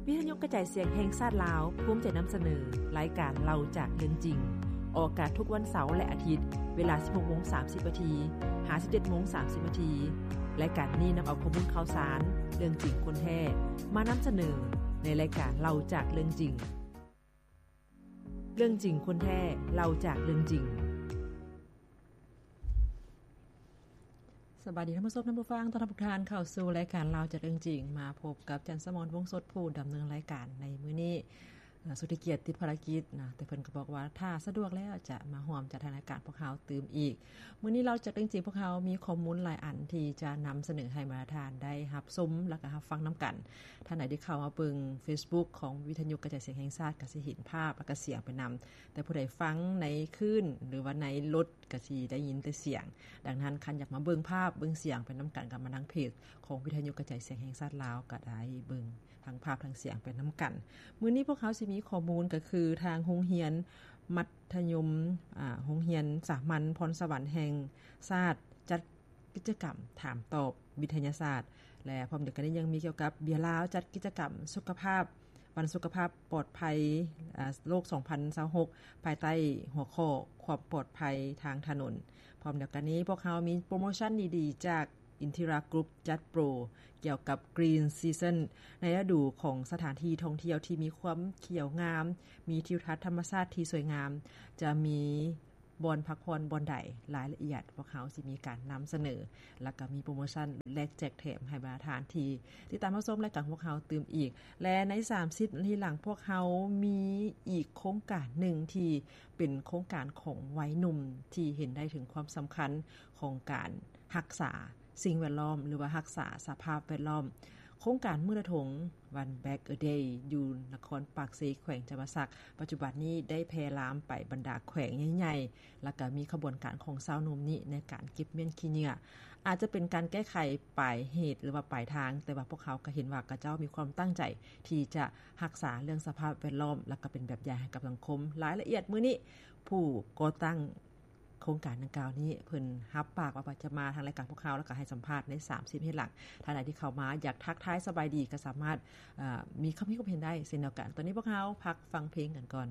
ວິທະຍຸກະຈາຍສຽງແຫ່ງຊາດລາວ ພູມໃຈນຳສະເໜີ ລາຍການເລົ່າຈາກເລື່ອງຈິງ, ອອກອາກາດທຸກວັນເສົາ ແລະ ອາທິດ ເວລາ ສິບຫົກໂມງສາມສິບນາທີ ຫາ ສິບເຈັດໂມງສາມສິບນາທີ. ລາຍການນີ້ນຳເອົາຂໍ້ມູນຂ່າວສານ, ເລື່ອງຈິງຄົນແທ້ ມານຳສະເໜີ ໃນລາຍການເລົ່າຈາກເລື່ອງຈິງ. ເລື່ອງຈິງຄົນແທ້ ເລົ່າຈາກເລື່ອງຈິງ. ສະບາຍດີທ່ານຜູ້ຊົມ ທ່ານຜູ້ຟັງ, ຕ້ອນຮັບທຸກທ່ານເຂົ້າສູ່ລາຍການເລົ່າຈາກເລື່ອງຈິງ. ມາພົບກັບຈັນສະໝອນ ວົງສົດ ຜູ້ດຳເນີນລາຍການໃນມື້ນີ້. ເອີ ສຸດທີ່ກຽດຕິດພາລະກິດນະ, ແຕ່ເພິ່ນກໍບອກວ່າ ຖ້າສະດວກແລ້ວຈະມາຮ່ວມຈັດໃຫ້ລາຍການພວກເຮົາຕື່ມອີກ. ມື້ນີ້ເລົ່າຈາກເລື່ອງຈິງ ພວກເຮົາມີຂໍ້ມູນຫຼາຍອັນທີ່ຈະນຳສະເໜີໃຫ້ບັນດາທ່ານໄດ້ຮັບຊົມ ແລ້ວກໍຮັບຟັງນຳກັນ. ທ່ານໃດທີ່ເຂົ້າມາເບິ່ງເຟສບຸກຂອງວິທະຍຸກະຈາຍສຽງແຫ່ງຊາດ ກໍຊິເຫັນພາບ ແລ້ວກໍສຽງໄປນຳ, ແຕ່ຜູ້ໃດຟັງໃນຄື້ນ ຫຼືວ່າໃນລົດ ກໍຊິໄດ້ຍິນແຕ່ສຽງ. ດັ່ງນັ້ນ ຄັນຢາກມາເບິ່ງພາບເບິ່ງສຽງໄປນຳກັນ ກໍມາທາງເພຈຂອງວິທະຍຸກະຈາຍສຽງແຫ່ງຊາດລາວ ກໍໄດ້ເບິ່ງທັງພາບທັງສຽງໄປນຳກັນ. ມື້ນີ້ພວກເຮົາຊິມີຂໍ້ມູນ ກໍຄືທາງໂຮງຮຽນມັດທະຍົມ ອາ ໂຮງຮຽນສາມັນພອນສະຫວັນແຫ່ງຊາດ ຈັດກິດຈະກຳຖາມຕອບວິທະຍາສາດ ແລະ ພ້ອມດຽວກັນນີ້ຍັງມີກ່ຽວກັບເບຍລາວ ຈັດກິດຈະກຳສຸຂະພາບ ວັນສຸຂະພາບປອດໄພ ອາ ໂລກ ສອງພັນຊາວຫົກ ພາຍໃຕ້ຫົວຂໍ້ຄວາມປອດໄພທາງຖະໜົນ. ພ້ອມດຽວກັນນີ້ ພວກເຮົາມີໂປຣໂມຊັນດີໆຈາກ Intira Group ຈັດໂປຣກ່ຽວກັບ Green Season ໃນລະດູຂອງສະຖານທີ່ທ່ອງທ່ຽວທີ່ມີຄວາມຂຽວງາມ, ມີທິວທັດທຳມະຊາດທີ່ສວຍງາມ, ຈະມີ ບ່ອນພັກຜ່ອນບ່ອນໃດ, ລາຍລະອຽດພວກເຮົາຊິມີການນຳສະເໜີ ແລ້ວກໍມີໂປຣໂມຊັນແລກແຈກແຖມໃຫ້ບັນດາທ່ານທີ່ຕິດຕາມຮັບຊົມລາຍການຂອງພວກເຮົາຕື່ມອີກ. ແລະ ໃນສາມສິບນາທີຫຼັງ ພວກເຮົາມີອີກໂຄງການໜຶ່ງທີ່ເປັນໂຄງການຂອງໄວໜຸ່ມທີ່ເຫັນໄດ້ເຖິງຄວາມສຳຄັນຂອງການຮັກສາ ສິ່ງແວດລ້ອມ ຫຼືວ່າຮັກສາສະພາບແວດລ້ອມ. ໂຄງການມື້ລະທົງ One Bag a Day ຢູ່ນະຄອນປາກເຊ ແຂວງຈຳປາສັກ ປັດຈຸບັນນີ້ໄດ້ແຜ່ລາມໄປບັນດາແຂວງໃຫຍ່ໆ ແລ້ວກໍມີຂະບວນການຂອງຊາວໜຸ່ມນີ້ໃນການເກັບມ້ຽນຂີ້ເຫຍື້ອ. ອາດຈະເປັນການແກ້ໄຂປາຍເຫດ ຫຼືວ່າປາຍທາງ, ແຕ່ວ່າພວກເຮົາກໍເຫັນວ່າເຂົາເຈົ້າມີຄວາມຕັ້ງໃຈທີ່ຈະຮັກສາເລື່ອງສະພາບແວດລ້ອມ ແລ້ວກໍເປັນແບບຢ່າງໃຫ້ກັບສັງຄົມ. ລາຍລະອຽດມື້ນີ້ ຜູ້ກໍ່ຕັ້ງ ໂຄງການດັ່ງກ່າວນີ້ ເພິ່ນຮັບປາກວ່າຈະມາທາງລາຍການພວກເຮົາ ແລ້ວກໍໃຫ້ສຳພາດໃນສາມສິບນາທີຫຼັງ. ທ່ານໃດທີ່ເຂົ້າມາຢາກທັກທາຍສະບາຍດີ ກໍສາມາດ ເອີ ມີຄຳຄິດຄວາມເຫັນໄດ້ເຊັ່ນດຽວກັນ. ຕອນນີ້ພວກເຮົາພັກຟັງເພງກັນກ່ອນ.